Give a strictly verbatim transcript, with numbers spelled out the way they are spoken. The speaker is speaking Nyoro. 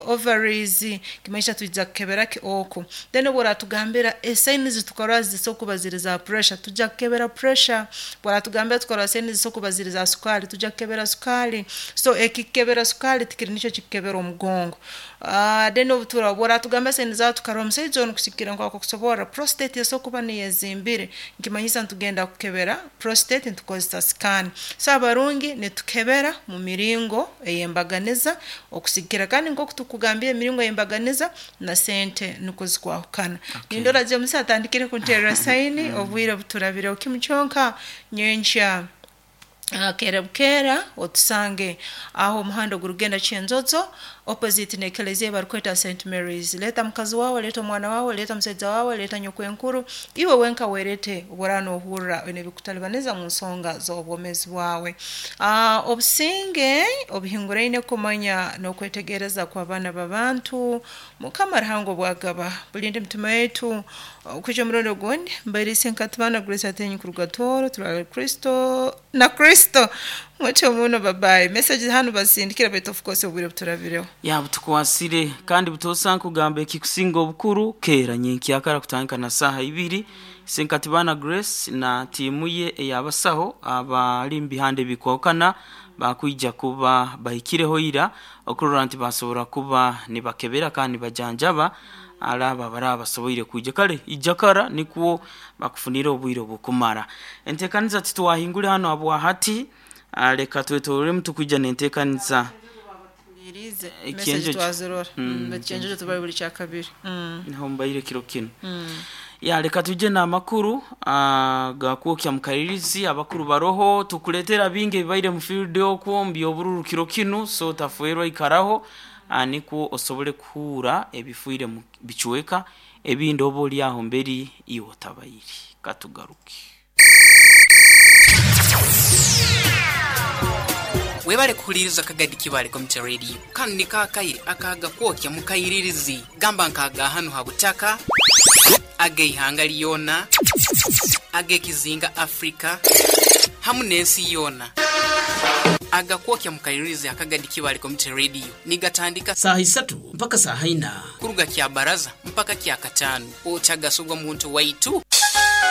ovaries, kimanyisa tujja kukebera ki oku. Then bworatugambira esaini zitukora zisokuba ziri za pressure, tujja kukebera pressure. Bworatugambira tukora saini zisokuba ziri za sukali, tujja kukebera sukali. So ekikebera sukali tikiri nicho kikebera omugongo. Uh, then obutura bworatugamba saini za tukarora omusaija ono kusikira nkwako kusobora prostate esokuba niyezimbire, nkimanyisa ntugenda kukebera prostate ntukozesa scan. So abarungi nitukebera mu miringo eyembaganiza okusikira, kandi nkoku tukugambira emiringo eyembaganiza na sente nuko zikwahukana. Okay. Nindora James atandikire kunterera saini obwire buturabire okimukyonka nyenkya. Uh, kera bukera otusange aho omuhanda ogurugenda Kyenzozo opposite n'ekelezia barikweta Saint Mary's. Leta mukazi wawe, leta omwana wawe, leta omusaija wawe, leta nyokwenkuru, iwe wenka werete obora nohurra oine ebikutalibaniza mu nsonga z'obwomezi bwawe. Uh, obusinge obuhinguraine kumanya n'okwetegereza kw'abaana b'abantu, Mukama Ruhanga obwagaba bulinde emitima yaitu okwijja omurundi ogundi. Mbairise nkatubana Grace Atenyi kuruga Tooro, turale Kristo na Kristo mucho muno, babayi. Message hano basindikira, baitu of course obwire buturabireho. Ya, butukwasire kandi butosa nkugamba ekikusinga obukuru kera nyenkyakara kutandika na saha ibiri, Senkatibana Grace na tiimu ye eyabasaho abali mu bihande bikwahukana bakwija kuba bahikireho ira okurora nti basobora kuba nibakebera kandi nibajanjaba alaba baraba basoboire kwija kale ijakara nikwo bakufunire obwire obukumara entekaniza. Titwahingule hano habwahati, ah, leka twetororemu tukwija nentekaniza. Irize Ekyenjojo. Message twazirora. Mm, Mm, ekyenjojo tubali buli kyakabiri. Mm. Niho mbaire kiro kino. Mm. Ya, leka tuje n'amakuru ah, gakwokya mukalirizi abakuru baroho tukuletera bingi ebibaire mu field okwo mbyobururu kiro kinu, so tafuerwa ikaraho, ah, nikwo osobole kuhura ebifuire mu bicweka ebindi oba oli aho mberi iwe otabaire. Katugaruke. Webale kuhuliriza Kagadi Kibale Community Radio. Kanu nikakaire akaga kwokya mukairirizi gamba nkaga hanu ha butaka ageihanga lyona agekizinga Afrika hamu n'ensi yona. Agakwokya mukairirizi Akagadi Kibale Community Radio nigatandika saha isatu mpaka saha ina, kuruga kya baraza mpaka kya katano. Otagasugwa muntu waitu.